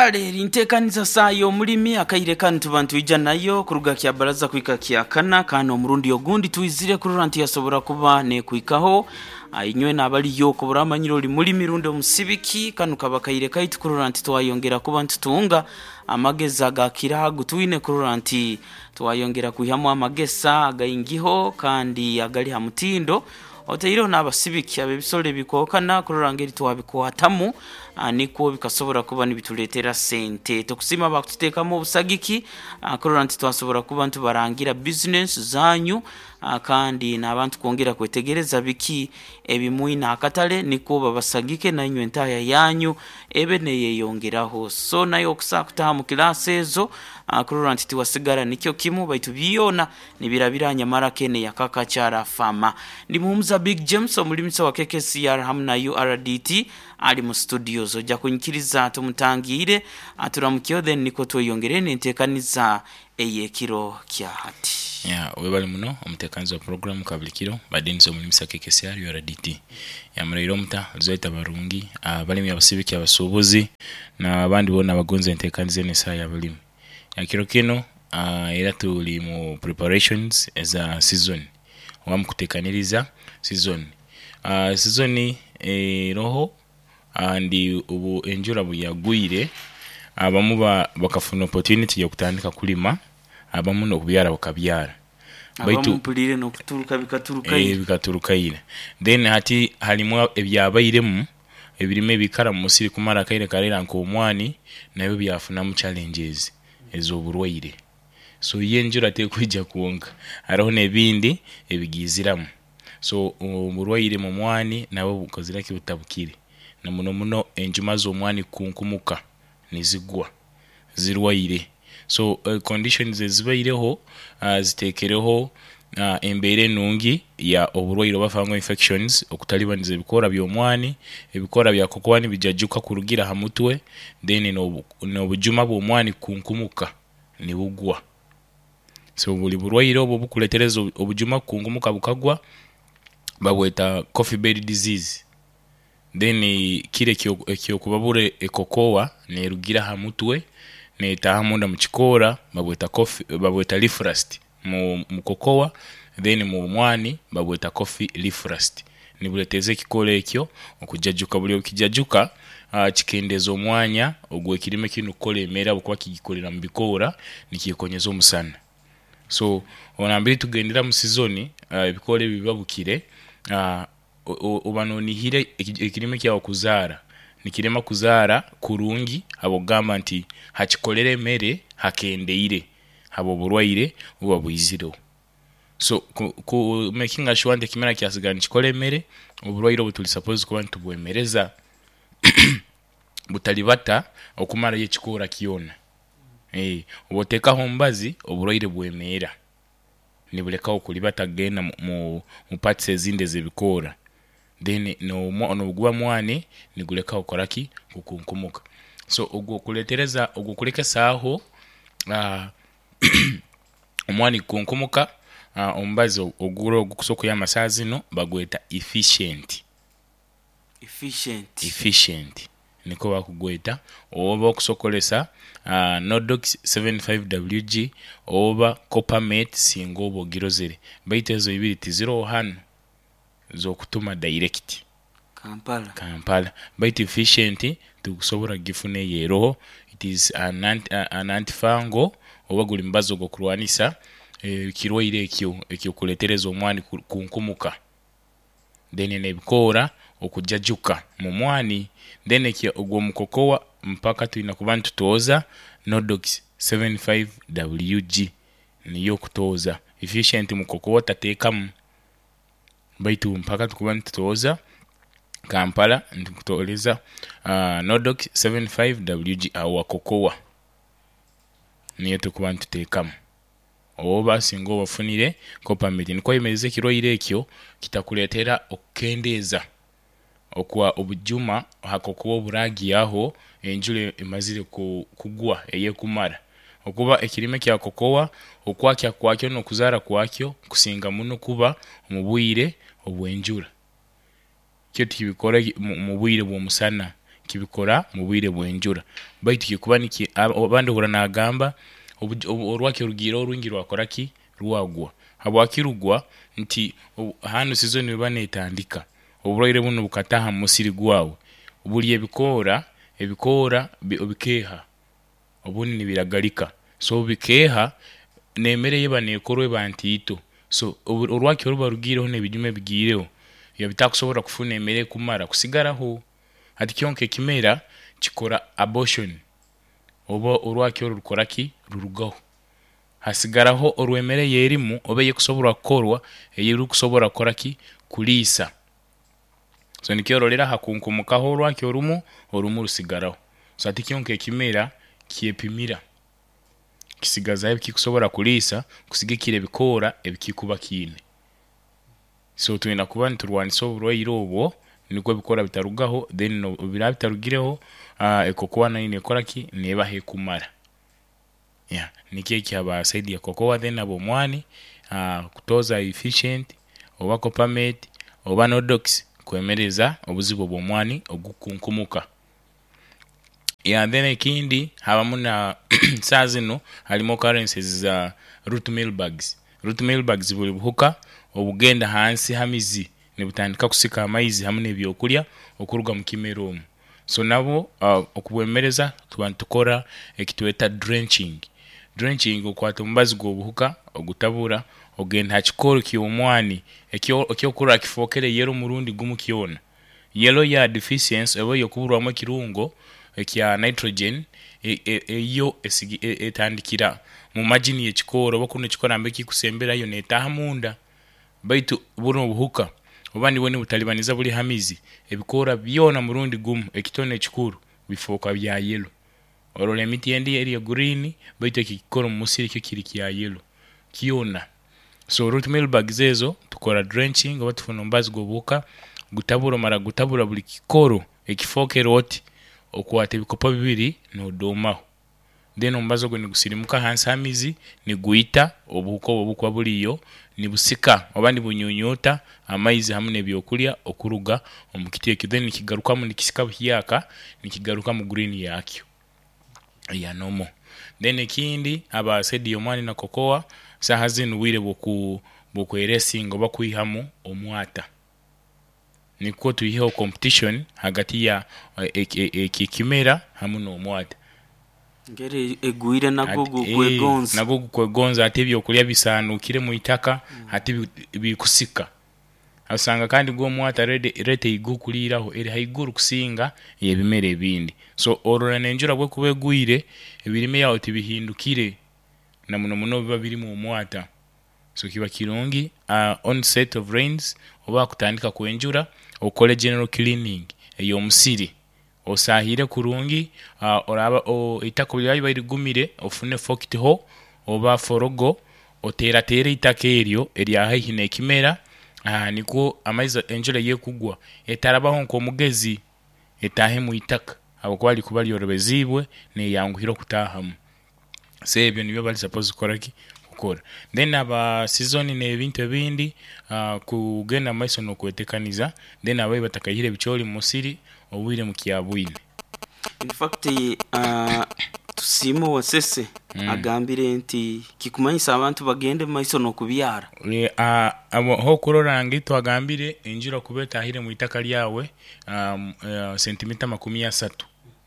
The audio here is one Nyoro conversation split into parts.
Kale eri nteekaniza saaha y'omulimi akaire kanu tuba nitwija nayo kuruga Kyabaraza kuhika Kyakana kandi omurundi ogundi twizire kurora nti yasobora kuba nekwikaho inywe n'abaliyo kuba oramanyire oli mulimi rundi omusibiki kanu kaba kaire kaitu kurora nti twayongera kuba nitutunga amagezi agakira ago twine kurora nti twayongera kwihamu amagesa againgiho kandi agali ha mutindo. Otaireho n'abasibiki ab'ebisolo ebikwahukana kurora ngeri twabikwatamu nikwo bikasobora kuba nibituleetera sente. Tukusiima abakututeekamu obusagiki kurora nti twasobora kuba nitubarangira bizinesi zanyu kandi n'abantu kwongera kwetegereza biki ebimwine aha katale nikwo babasagike nainywe entahya yanyu ebe neyeyongeraho. So naiwe okusobola kutaaha mu kilaasi ezo kurora nti tiwasigara nikyo kimu baitu byona nibirabira nyamara kene ya Kakakyara Farmer. Ndi Muhumuza Big James omulimisa wa KKCR hamu na URDT ali mu studios. Oja kunyikiriza tumutangiire aturamukyeho then nikwo tweyongere n'enteekaniza ey'ekiro kya hati. Yeah, webale muno omutekanizi wa program kabulikiro mbadde ninze omulimisa KKCR URDT. Yeah, muraire omuta Luzaita barungi, abalimi abasibiki abasubuzi na abandi bona abagonza entekaniza eno esaha ya balimi. Yeah, kiro kinu era tuli mu preparations eza season oba mukutekaniriza season. Season eroho and obu enjura bweyagwire abamu bakafuna opportunity yokutandika kulima abamu nokubyara bakabyara Abamu baitu mpuliire n'okuturuka bikaturuka ira. Bikaturuka ira. Then hati harimu ebyabairemu ebirime ebikara mu musiri kumara akaire karaira nk'omwani nabyo byafunamu challenges ez'oburwaire. So yo enjura tekwija kwonka haroho n'ebindi ebigiiziramu. So oburwaire mu mwani nabwo bukozire ki butabukire na muno muno enjuma z'omwani kukunkumuka nizigwa zirwaire. So conditions ezibaireho zitekereho embeera enungi ya oburwaire oba fungal infections okutalibaniza ebikoora by'omwani, ebikoora bya kokoa nibijajuka kurugira aha mutwe then n'obujuma bw'omwani kukunkumuka nibugwa. So buli burwaire obwo obukuletereza obujuma kukunkumuka bukagwa babweta coffee bed disease. Then kire eky'okubabura ekokoa nerugira aha mutwe netaaha munda mu kikoora babweta coffee babweta leaf rust mu kokoa then mu mwani babweta coffee leaf rust. Nibuletereza ekikoora ekyo okujajuka buli obukijajuka kikendeza omwanya ogw'ekirime kinu kukora emere ahabw'okuba kigikorera mu bikoora nikyekonyeza omusana. So nambere tugendera mu sizoni ebikoora ebyo bibabukire oba nonihira ekirime kyawe kuzaara, nikirema kuzaara kurungi habw'okugamba nti hakikolera emere hakendeire habw'oburwaire obuba bwizireho. So ku makinga sure nti ekimera kyasigara nikikora emere, oburwaire obwo turi supposed kuba nitubwemereza butaribata okumarayo ekikoora kyona. Obu otekaho omubazi, oburwaire bwemeera nibulekaho kuribata kugenda mu parts ezindi ez'ebikoora then noguba mwani nigulekaho kukora ki? Kukunkumuka. So ogwo kuletereza ogwo kulekesa agho omwani kukunkumuka, omubazi ogura ogukusobola okuyamba saaha zino bagweta efficient. Efficient. Efficient nikwo bakugweta oba okusokolesa Nordox 75 WG oba Coppermate singa oba ogirozere baitu ezo ibiri tiziroho hanu z'okutuma direct. Kampala. Kampala baitu efficient tukusobora kugifuna eyo eroho it is an antifungal oba guli mubazi ogw'okurwanisa ekirwaire ekyo eky'okuletereza omwani kukunkumuka then n'ebikoora okujajuka mu mwani then ekyo ogwo mukokoa mpaka twina kuba nitutooza Nordox 75 WG niyo okutooza efficient mukokoa tateekamu baitu mpaka tukuba nitutooza Kampala nitukutooreza Nordox 75 WG awo wa kokoa niyo tukuba nituteekamu. Oba singa oba ofunire Coppermate nikwo oyemereze ekirwaire ekyo kitakuleetera okukendeeza okwa obujuma aha kokoa oburagiaho enjura emazire kugwa eyekumara. Okuba ekirime kya kokoa okwakya kwakyo n'okuzaara kwakyo kusinga muno kuba omu bwire obw'enjura. Kyo tikibikora mu bwire bw'omusana. Kibikora mu bwire bw'enjura, baitu kikuba niki abandi ohurra naagamba orwaki orugiireho orwingi rwakora ki? Rwagwa. Habwaki rugwa? Nti hanu sizoni eba neetandika, oburwaire bunu bukataaha mu musiri gwawe, buli ebikoora, ebikoora bikeeha, obundi nibiragalika, so obu bikeeha, n'emere eyeba neekorwa eba ntiito, so orwaki oruba rugiireho n'ebijuma ebigiireho biba bitakusobora kufuna emere ekumara kusigaraho. Hati kyonka ekimera kikora abortion, oba orwaki oru rukora ki? Rurugaho. Hasigaraho orw'emere eyerimu oba eyekusobora kukorwa eyerukusobora kukora ki? Kuliisa. So nikyo orolera hakunkumukaho orwaki orumu, orumu rusigaraho. So hati kyonka ekimera kyepimira, kisigazaho ebikikusobora kuliisa kusigikira ebikoora ebikikuba kiine. So twina kuba niturwanisa oburwaire obwo nikwo ebikoora bitarugaho, then obu biraba bitarugireho, ekokoa nayo nekora ki? Nebaho ekumara. Yeah, nikyo eki haba side ya cocoa. Then habw'omwani, kutoza efficient oba coppermate oba nodox kwemereza obuzibu obw'omwani ogukukunkumuka. Yeah, then ekindi habamu na saaha zinu harimu occurrences za root meal bugs. Root meal bugs buli buhuka obugenda hansi ha mizi nibutandika kusika amaizi hamu n'ebyokulya okuruga mu kimera omu. So nabwo okubwemereza tuba nitukora ekitweta drenching. Drenching okwata omubazi gw'obuhuka ogutabura ogenda ha kikoori ky'omwani ekyokurora kifookere yellow murundi gumu kyona. Yellow ya deficiency oba ey'okuburwamu ekirungo ekya nitrogen yo etandikira mu margin y'ekikoori oba kunu ekikoori nambere kikusemberayo neetaaha munda. Baitu bunu obuhuka obuba nibwo nibutalibaniza buli ha mizi, ebikoora byona murundi gumu ekito n'ekikuru bifooka bya yellow. Orora emiti endi eri ya green baitu eki ekikoori omu musiri kyo kiri kya yellow kyona. So root meal bugs ezo tukora drenching oba tufuna omubazi gw'obuhuka gutabura, omara kugutabura buli kikooro ekifookere oti, okwata ebikopo bibiri noodoomaho. Then omubazi ogwo nigusirimuka hansi ha mizi nigwita obuhuka obu obukuba buriyo nibusika oba nibunyunyuuta amaizi hamu n'ebyokulya okuruga omu kiti ekyo, then nikigarukamu nikisika buhyaka nikigaruka mu green yakyo eya normal. Then ekindi aba side y'omwani na cocoa, saaha zinu bwire bw'okweresinga oba kwihamu omwata nikwo twiheho competition hagati ya eki ekimera hamu n'omwata. Engeri egwire nagwo gukwegonza. Nagwo gukwegonza hati ebyokulya bisaanukire mu itaka hati bikusika. Osanga kandi gwo omwata rate eyigukuliiraho eri haiguru kusinga ey'ebimera ebindi. So orora n'enjura bwekuba egwire, ebirime byawe tibihindukire na muno muno obubiba birimu omwata. So kiba kirungi onset of rains oba hakutandika kw'enjura okole general cleaning ey'omusiri, osaahire kurungi, oraaba eitaka obu liraaba libaire ligumire ofune forked hoe oba forogo oteerateere eitaka eryo erya haihi n'ekimera nikwo amaizi enjura eyekugwa etarabaho nk'omugezi etaahe mu itaka habwokuba likuba lyorobeziibwe neeyanguhira okutaahamu. So ebyo nibyo bari supposed kukora ki? Kukora. Then aba season n'ebintu ebindi, kugenda mu maiso n'okwetekaniza, then ababi batakaihire ebicoori mu musiri obwire mukyabwine. In fact Tusiime owa Ssese agambire nti kikumanyisa abantu bagende mu maiso n'okubyara. Hokurora ngu twagambire enjura kuba etahire mu itaka lyawe sentimita 30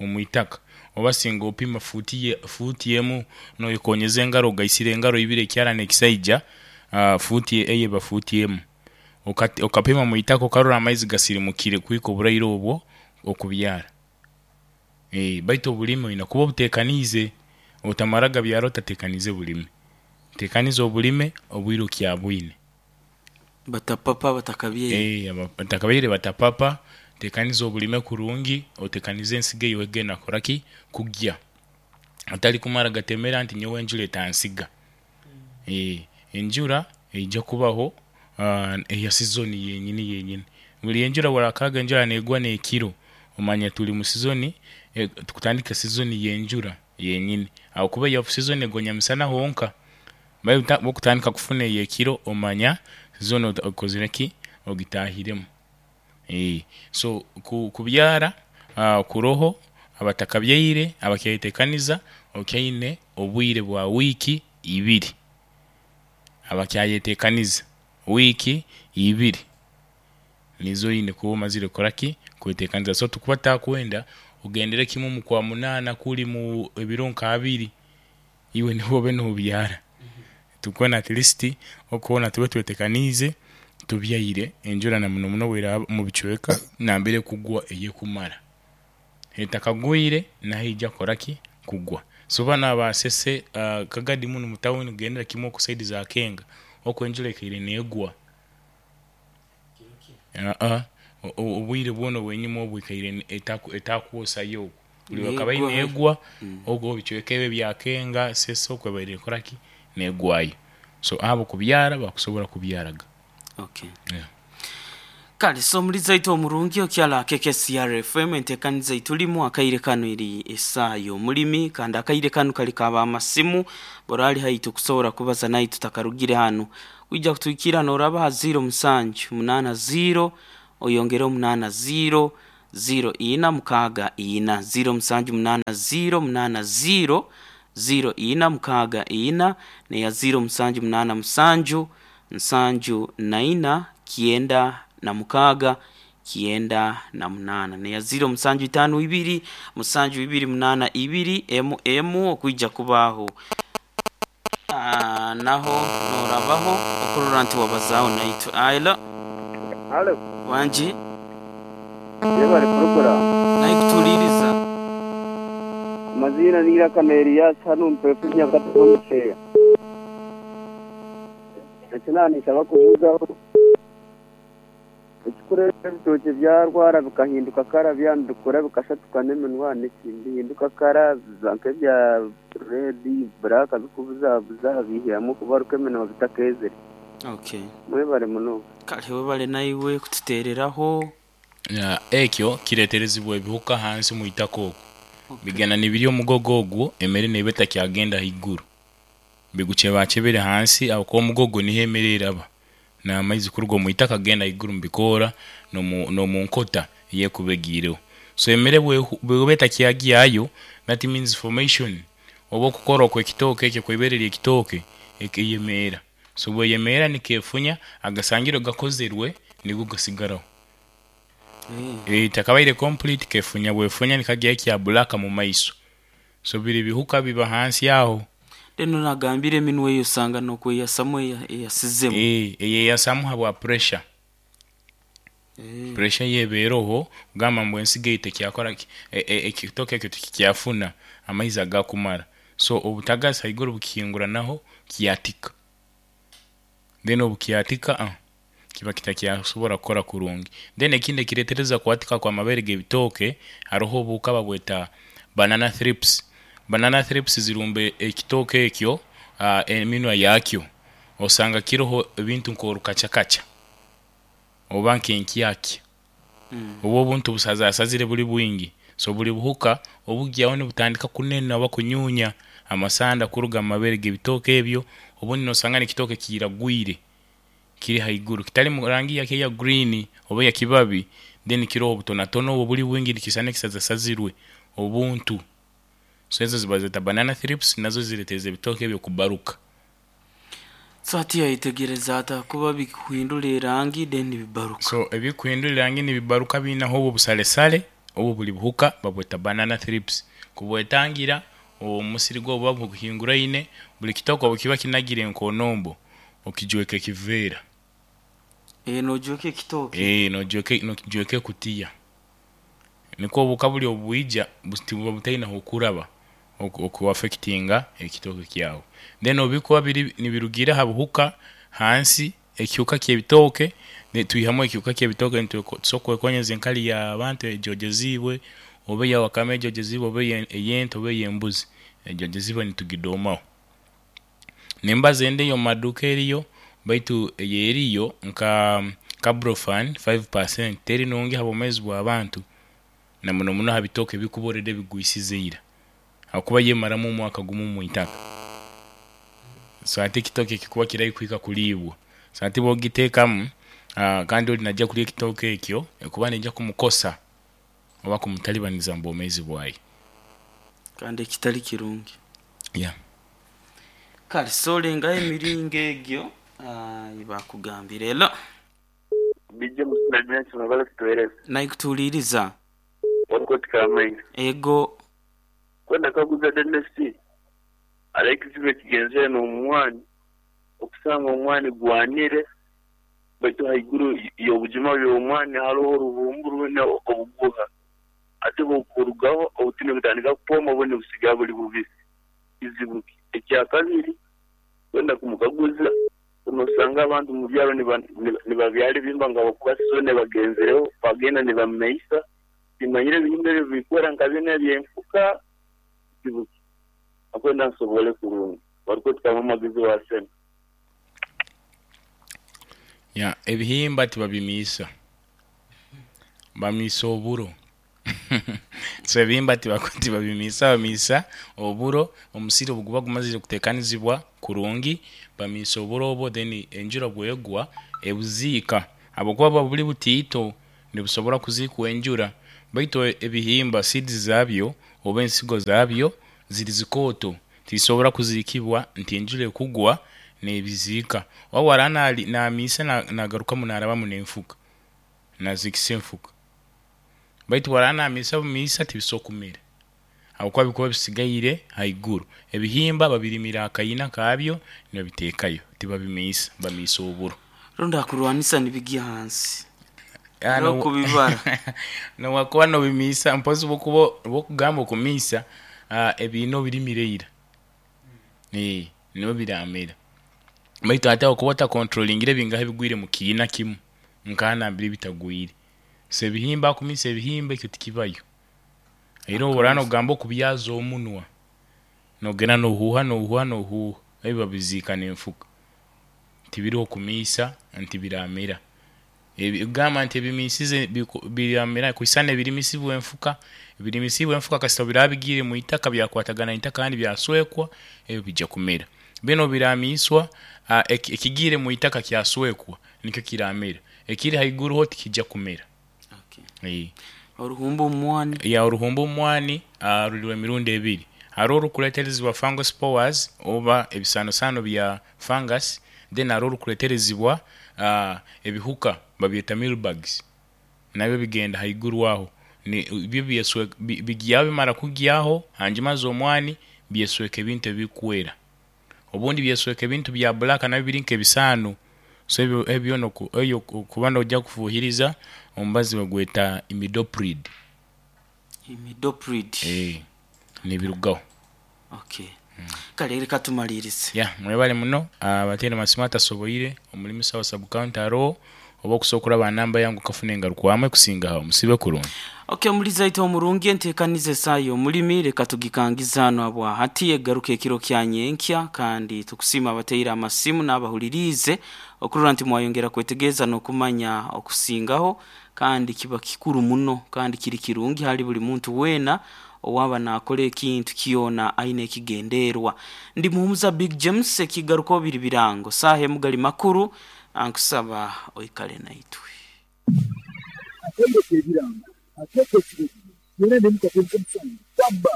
omu itaka, oba singa opima fuuti emu noyekonyeza engaro ogaisire engaro ibiri ekyara n'ekisaija, fuuti eyo eba fuuti emu. Okapima mu itaka okarora amaizi gasirimukire kuhika oburaire obwo okubyara. Baitu obulime oine kuba obuteekaniize, otamara gabyara otateekaniize bulime. Teekaniza obulime obwire okyabwine. Batapapa batakabyere. Batakabyere batapapa, tekaniza obulime kurungi, otekanize ensigo ei orikugenda kukora ki? Kugya. Otari kumara gatemera nti nyowe enjura etansiga. Enjura eija kubaho eya sizoni yenyini yenyini. Buri enjura bw'orakaaga enjura neegwa n'ekiro, omanya turi mu sizoni, tukutandika sizoni y'enjura yenyini ahabw'okuba eya off sizoni egwa nyamisana honka. Baitu bw'okutandika kufuna ey'ekiro omanya sizoni okozire ki? Ogitaahiremu. So kubyara. Kuroho abatakabyaire abakyayetekaniza, okyaine obwire bwa wiiki ibiri, abakyayetekaniza wiiki ibiri nizo oine kuba omazire kukoraki kwetekaniza. So tukuba tutakwenda ogendere kimwe omu kwamunaana kuri mu ebiro nka abiri iwe nibwo obe nobyara. Tukwenda at least okwo tube twetekaniize tubyaire enjura na muno muno bweraba omu bicweka nambere ekugwa eyekumara. Etakagwire naho eija kukoraki kugwa. So banu aba Ssese, Kagadi munu mu tawuni kugendera kimwe oku saidi za Kenga okwo enjura ekaire negwa. Obwire bwona obw'enyuma obu ekaire etakwosayo oku buri bwekabaire Negwa. negwa oku ebicweka ebi ebya Kenga, Ssese okwo ebaire nekoraki negwayo. So abo kubyara bakusobora kubyaraga. Okay. Yeah. Kale so omulizi aitu omurungi okyala KKCR FM entekaniza eitulimu akaire kanu eri esaa y'omulimi kandi akaire kanu kali ka b'amasimu bora ali haitu kusobora kubaza naitu tutakarugire hanu kwija kutuhikira noraba ha 0 musanju munana 0 oyongere omunana 0 0 ina mukaaga ina 0 musanju munana 0 munana 0 0 ina mukaaga ina neya 0 musanju munana musanju nsanju na ina kyenda na mukaaga kyenda na munaana neya 0 musanju itaano ibiri musanju ibiri munaana ibiri emu emu okwija kubaho. Naho norabaho okurora nti wabazaaho naitwe. Hello. Halo. Wangi. Yebale puroguramu. Naikutuliiriza. Amazina ni Irakana Elias hanu Mpefu Nyakatare omu Kyeya. Eki naaba kubuuzaho ekikureeta ebitookye byarwara bikahinduka kara byaba nibikura bikashatuka n'eminwa nibihinduka kara biba nk'ebya redi buraaka bikubuzabuza bihiramu kubaruka eminwa bitakeezire. Okay. Mwebale munonga. Kale webale naiwe kututeereraho. Ekyo kireterezibwa ebihuka hansi omwitaka okwo. Bigenda nibirya omugogo ogwo emere neba etakyagenda haiguru. Bigukyebakebere hansi aho kuba omugogo niho emere eraba n'amaizi kuruga omwitaka kugenda haiguru omu bikoora n'omunkota eyekuba egiireho. So emere bweba etakyagyayo that means formation oba okukora okw'ekitooke ekyo okwibere ly'ekitooke eyemeera. So bweyemeera nikefunya agasangirwe gakozerwe nigo gasigaraho. Takabaire complete kefunya bwefunya nikagyayo ekya black mu maiso. So biri bihuka biba hansi aho. Then onagambire eminwa eyo osanga n'okweyasamu eyasizemu. Eyeyasamu habwa pressure. Pressure yeba eroho kugamba ngu ensigo eyo tekyakoraki ekitooke ekyo tikikyafuna amaizi agakumara. So obutagasi haiguru bukihinguranaho kyatika. Then obukyatika kiba kitakyasobora kukora kurungi. Then ekindi ekiretereza kwatika kw'amabere g'ebitooke haroho obuhuka babweta banana thrips. Banana thrips zirumba ekitooke ekyo eminwa yakyo osanga kiroho ebintu nk'orukacakaca oba nk'enkyakya oba obuntu busazasazire buli bwingi. So buli buhuka obugyaho nibutandika kunena oba kunyunya amasanda kuruga mu mabere g'ebitooke ebyo obundi nosanga n'ekitooke kiiragwire kiri haiguru kitali mu rangi yakyo eya green oba eyakibabi then kiroho obutonatono obwo buli bwingi nikisana ekisazasazirwe obuntu. So ezo nibazeta banana thrips nazo ziretereza ebitooke ebyo kubaruka. So hati yayetegereza ata kuba bikuhindura erangi then bibaruka. So ebikuhindura erangi nibibaruka biinaho obu obusalesale obu buli buhuka babweta banana thrips. Kubwetangira omusiri gwawe obuba buhinguraine buli kitooke obu kiba kinagire nk'onombo okijweka ekiveera. Nojweka ekitooke? Nojweka ekutiya nikwo obuhuka buli obubwija buba butaine hokuraba okuaffectinga ekitooke kyawe. Then obubikuba biri nibirugiira ha buhuka hansi ekihuka ky'ebitooke nitwihamu ekihuka ky'ebitooke nitusobola kwekonyeza enkali y'abantu ejoojeziibwe oba eya wakame ejoojeziibwe oba ey'ente oba ey'embuzi ejoojeziibwe nitugidoomaho. N'embazi endi ey'omu maduuka eriyo baitu eyo eriyo nka Carbofen 5% teri nungi ha bwomeezi bw'abantu na muno muno ha bitooke ebikuba already bigwisize ira habwokuba yo emaramu omwaka gumu omwitaka. So hati ekitooke kikuba kiri haihi kuhika kuliibwa, so hati bwogiteekamu kandi ori naija kurya ekitooke ekyo ekuba neija kumukosa. Oba kumutalibaniza mu bwomeezi bwaye. Kandi ekitali kirungi. Yeah. Kale so olengaho emiringo egyo yebakugambire. Hello. DJ Musina James mwebale kutuwereza. Naikutuuliriza. Wakoti Kamaina. Ego. Kwenda kaguza Dennis, hariho ekizibu ekigenzere n'omwani, okusanga omwani gwanire baitu haiguru y'obujuma by'omwani haroho oruhumbu rwine obuguha, ate bwokurugaho obutini butandika kupoma obundi busigara buli bubisi. Kizibu ki? Ekyakabiri, kwenda kumukaguza, nosanga abantu mu byaro nibabyara ebihimba nga habwokuba sizoni ebagenzireho, bagenda nibameisa, timanyire ebihimba ebyo bikwera nka binu eby'enfuka, kizibu ki? Akwenda nsobole kurungi. Warukwetukamu amagezi wa sente. Ya, ebihimba tibabimiisa. Bamiisa oburo. So ebihimba tibabimiisa, bamiisa oburo. Omusiri obuguba gumazire kutekanizibwa kurungi, bamiisa oburo obwo then enjura bwegwa ebuziika. Habwokuba buba buli butiito, nibusobora kuziikwa enjura. Baitu ebihimba seeds zabyo oba ensigo zabyo ziri zikooto, tizisobora kuziikibwa nti enjura ekugwa nebiziika. Oba bwaraba namiisa nagarukamu narabamu n'enfuka, naziikisa enfuka. Baitu bwaraba namiisa bumiisa tibisobora kumera habwokuba bikuba bisigaire haiguru. Ebihimba babirimira akaina kabyo nibabiteekayo, tibabimiisa, bamiisa oburo. Rundi akurwanisa nibigya hansi. N'okubibara. Nowakuba nobimiisa mpozi bwokuba bwokugamba okumiisa ebiina obirimire ira nibyo biramera. Baitu ate okuba otakontrolingire bingaha ebigwire mu kiina kimu nkaha nambere bitagwire. So ebihimba akumiisa ebihimba ekyo tikibayo. Era obu oraba nogamba okubyaza omunwa, nogenda nohuuha nohuuha nohuuha, ebyo babiziika n'enfuka. Tibiriho kumiisa nti biramera. Gamba nti ebimiisize biramera kwisana ebirimisibwa enfuka, ebirimisibwa enfuka kasita biraba bigiire mu itaka byakwatagana n'itaka kandi byaswekwa, ebyo bijja kumera. Binu obiramiiswa, ekigiire mu itaka kyaswekwa nikyo kiramera, ekiri haiguru ho tikijja kumera. Okay. Oruhumba omwani. Ya, oruhumba omwani ruri emirundi ebiri. Hariho orukureeterezibwa fungal spores oba ebisaanosaano bya fungus, then hariho orukureeterezibwa ebihuka babyeta mealybugs, nabyo bigenda haiguru aho. Byo bigyaho bimara kugyaho hanjuma z'omwani byesweka ebintu ebikwera. Obundi byesweka ebintu bya black nabyo biri nk'ebisaano. So ebyo okuba noija kufuhiriza omubazi bagweta imidoprid. Imidoprid. Nibirugaho. Okay. Kale leka tumalirize. Ya, mwebale muno abateire amasimu atasoboire omulimisa wa sub-county aroho oba okusobola okuraba aha namba yange okafuna engarukwamu ekusinga aho. Musibe kurungi. Okay, omulizi aita omurungi entekaniza esaaha y'omulimi leka tugikangize hanu habwahati egaruke ekiro kya nyenkya kandi tukusiima abateire amasimu n'abahuliriize okurora nti mwayongera kwetegereza n'okumanya okusingaho kandi kiba kikuru muno kandi kiri kirungi hali buli muntu weena owaba nakora ekintu kyona aine ekigenderwa. Ndi Muhumuza Big James ekigarukaho biri birango saaha emu gali makuru ankusaba oikale naitwe. Akaire k'ebirango akeeta ekiro byona n'emikago nk'omusango, Baba.